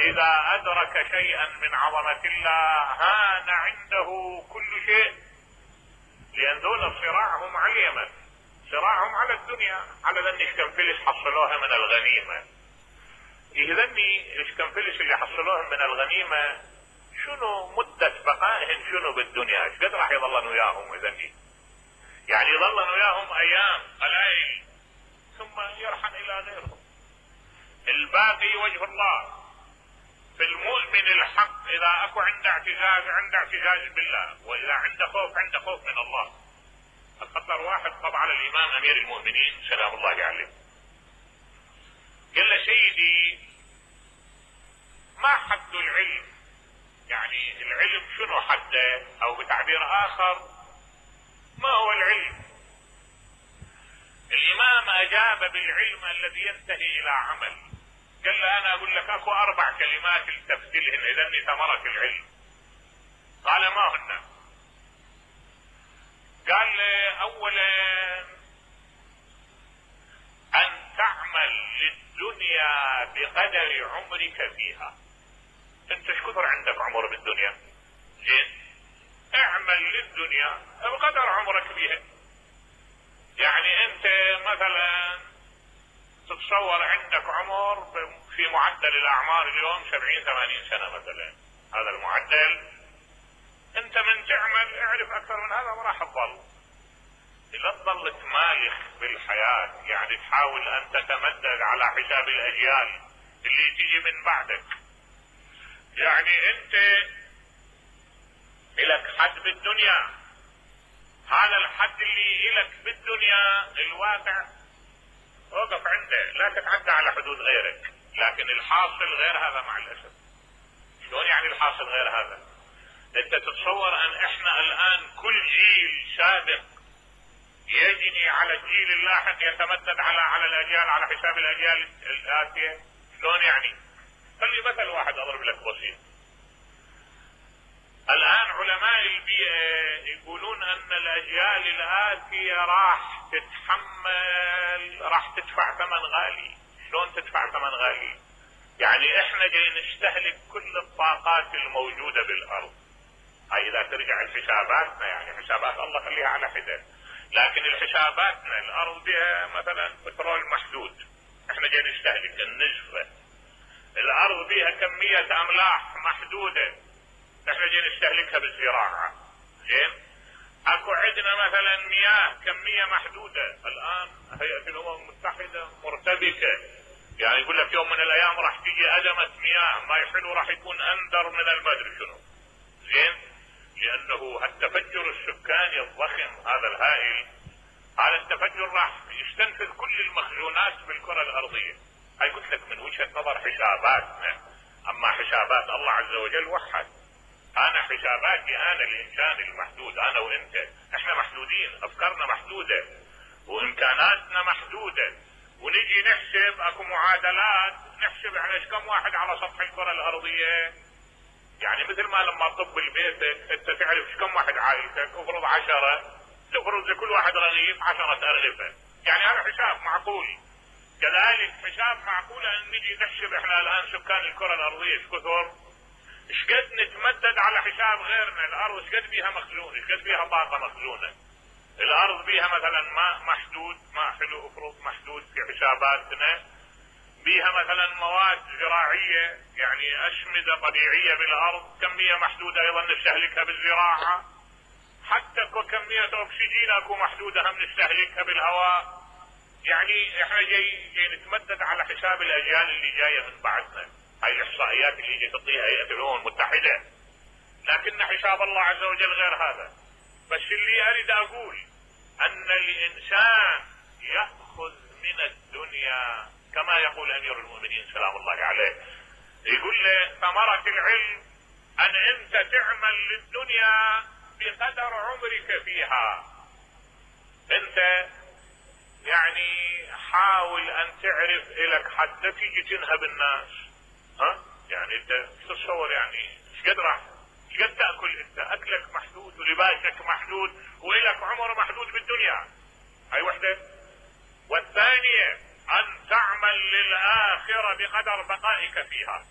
واذا ادرك شيئا من عظمة الله هان عنده كل شيء، لان دول صراعهم على اليمن، صراعهم على الدنيا، على ذني شكنفلس حصلوها من الغنيمة. يهذني الشكنفلس اللي حصلوها من الغنيمة شنو مدة بقائهم شنو بالدنيا، ايش قد راح يظلن وياهم يهذني؟ يعني يظلن وياهم ايام قلائل ثم يرحل الى غيرهم. الباقي وجه الله. في المؤمن الحق اذا اكو عنده اعتزاز بالله، واذا عنده خوف من الله. الخطر واحد طبعا على الامام امير المؤمنين سلام الله عليه، قال له سيدي ما حد العلم؟ يعني العلم شنو حده؟ او بتعبير اخر ما هو العلم؟ الامام اجاب بالعلم الذي ينتهي الى عمل. قال له انا اقول لك اكو 4 كلمات التفت لهن اذني ثمرة العلم. قال ما هن؟ قال له اولا ان تعمل للدنيا بقدر عمرك فيها. انت ايش كثر عندك عمر بالدنيا؟ زين، اعمل للدنيا بقدر عمرك فيها. يعني انت مثلا تتصور عندك عمر في معدل الاعمار اليوم 70-80 سنة مثلا، هذا المعدل. انت من تعمل اعرف اكثر من هذا ما راح تظل. لا تظل تمالخ بالحياة، يعني تحاول ان تتمدد على حساب الاجيال اللي تيجي من بعدك. يعني انت الك حد بالدنيا، هذا الحد اللي الك بالدنيا الواقع وقف عنده، لا تتعدى على حدود غيرك. لكن الحاصل غير هذا مع الاسف. شلون يعني الحاصل غير هذا؟ انت تتصور ان احنا الان كل جيل سابق يجني على الجيل اللاحق يتمدد على الاجيال على حساب الاجيال الاتيه؟ شلون يعني؟ خلي مثل واحد اضرب لك بسيط. الان علماء البيئة يقولون ان الاجيال الاتية راح تدفع ثمن غالي. شلون تدفع ثمن غالي؟ يعني احنا جاي نستهلك كل الطاقات الموجودة بالارض. هاي اذا ترجع لحساباتنا، يعني حسابات الله خليها على حدة، لكن الحساباتنا الارض بها مثلا بترول محدود، احنا جاي نستهلك النسبة. الارض بها كمية املاح محدودة، احنا جاي نستهلكها بالزراعة. زين، اكو عندنا مثلا مياه كمية محدودة. الان هيئة الامم المتحدة مرتبكة، يعني يقول لك يوم من الايام راح تيجي ازمة مياه، ما يحلو راح يكون اندر من المدري شنو. زين، لانه التفجر السكاني الضخم هذا الهائل، هذا التفجر راح يستنفذ كل المخزونات بالكرة الارضية. هاي قلت لك من وجهة نظر حساباتنا، اما حسابات الله عز وجل وحد. انا حساباتي انا الانسان المحدود، انا وانت احنا محدودين، افكارنا محدودة وامكاناتنا محدودة، ونجي نحسب اكو معادلات نحسب احنا ايش كم واحد على سطح الكرة الارضية. يعني مثل ما لما تطب بيتك انت تعرف ايش كم واحد عايشك، افرض 10، تفرض لكل واحد رغيف 10 أرغفة، يعني هذا حساب معقول. كذلك حساب معقول ان نجي نحسب احنا الان سكان الكرة الارضية ايش كثر، ايش قد نتمدد على حساب غيرنا. الارض ايش قد بيها مخزون، ايش قد بيها طاقة مخزونة. الارض بيها مثلا ماء محدود، ماء حلو افرض محدود في حساباتنا، بيها مثلا مواد زراعية يعني اشمدة طبيعية بالارض كمية محدودة ايضا نستهلكها بالزراعة. حتى كمية اكسجين اكو محدودة هم نستهلكها بالهواء. يعني احنا جاي نتمدد على حساب الاجيال اللي جاية من بعدنا. هاي الاحصائيات اللي جاي تعطيها هيئة الامم المتحدة، لكن حساب الله عز وجل غير هذا. بس اللي اريد اقول ان الانسان يأخذ من الدنيا كما يقول امير المؤمنين سلام الله عليه، يقول له ثمرة العلم ان انت تعمل للدنيا بقدر عمرك فيها. انت يعني حاول ان تعرف الك حتى تيجي تنهب الناس. يعني انت تتصور يعني ايش قد تأكل انت، اكلك محدود ولباسك محدود والك عمر محدود بالدنيا. هاي وحدة. والثانية ان تعمل للآخرة بقدر بقائك فيها.